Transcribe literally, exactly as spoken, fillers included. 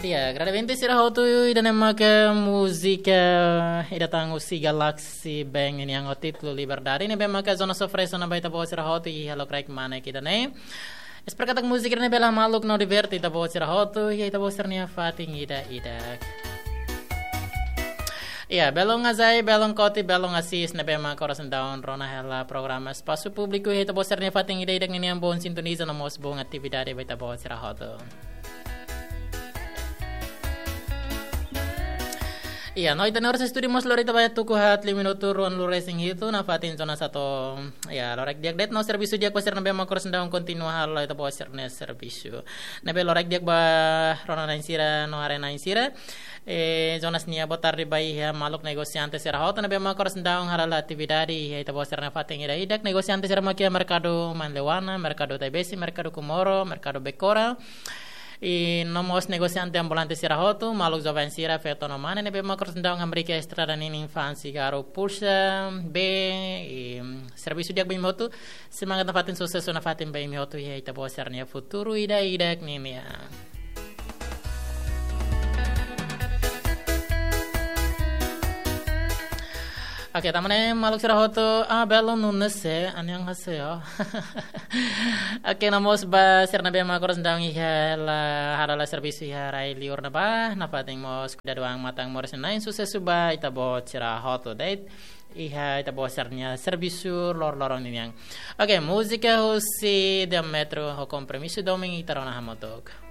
Ya, agradamenti sira hotu ida-ne'e maka múzika ida tan husi Galaxy Band nian ho títulu Liberdade ne'ebé maka Jonas oferese ona ba ita-boot sira hotu iha lokraik mane ida-ne'e. Espera katak múzika ne'e bele hamaluk no diverte ita-boot sira hotu iha ita-boot sira-nia fatin ida-idak. Ya, belun Azai, belun Koti, belun Asis ne'ebé maka oras ne'e daudaun rona hela programa Espasu Públiku iha ita-boot sira-nia fatin ida-idak ninian, bom sintoniza no mós bom atividade ba ita-boot sira hotu. Ya, no ita-nia oras estúdiu mós lori ita ba tuku haat liu minutu ruanulu-resin-hitu nafatin zona satu. Ya, lokraik di'ak de'it no servisu di'ak ba sira ne'ebé maka oras ne'e daudaun kontinua halo ita-boot sira-nia servisu. Ne'ebé lokraik di'ak ba rona-na'in sira no haree-na'in sira. Eh, Jonas nia boa tarde ba iha maluk negosiante sira hotu ne'ebé maka oras ne'e daudaun hala'o atividade iha ita-boot sira-nia fatin ida-idak. Negosiante sira maka iha Merkadu Manleuana, Merkadu Taibesi, Merkadu Comoro, Merkadu Becora. I no mós negosiante ambulante sira hotu, maluk joven sira, feto no mane ne'ebé maka oras ne'e daudaun hamriik iha estrada ninin fa'an sigarru pulsa, be, i, mm, servisu di'ak ba imi hotu, semangat nafatin, susesu nafatin ba imi hotu iha ita-boot sira-nia futuru ida-idak ninian. Oke, tanba ne'e maluk sira hotu, ah, belun Nunes, eh, annyeonghaseyo. Oke, no mós ba sira ne'ebé maka oras ne'e daudaun iha la, hala'o la servisu iha rai liur ne'ebá, nafatin mós kuidadu an matan moris na'in, susesu ba ita-boot sira hotu de'it iha ita-boot sira-nia servisu loroloron ninian. Oke, múzika husi Diâmetro ho Compromisso Domin ita rona hamutuk.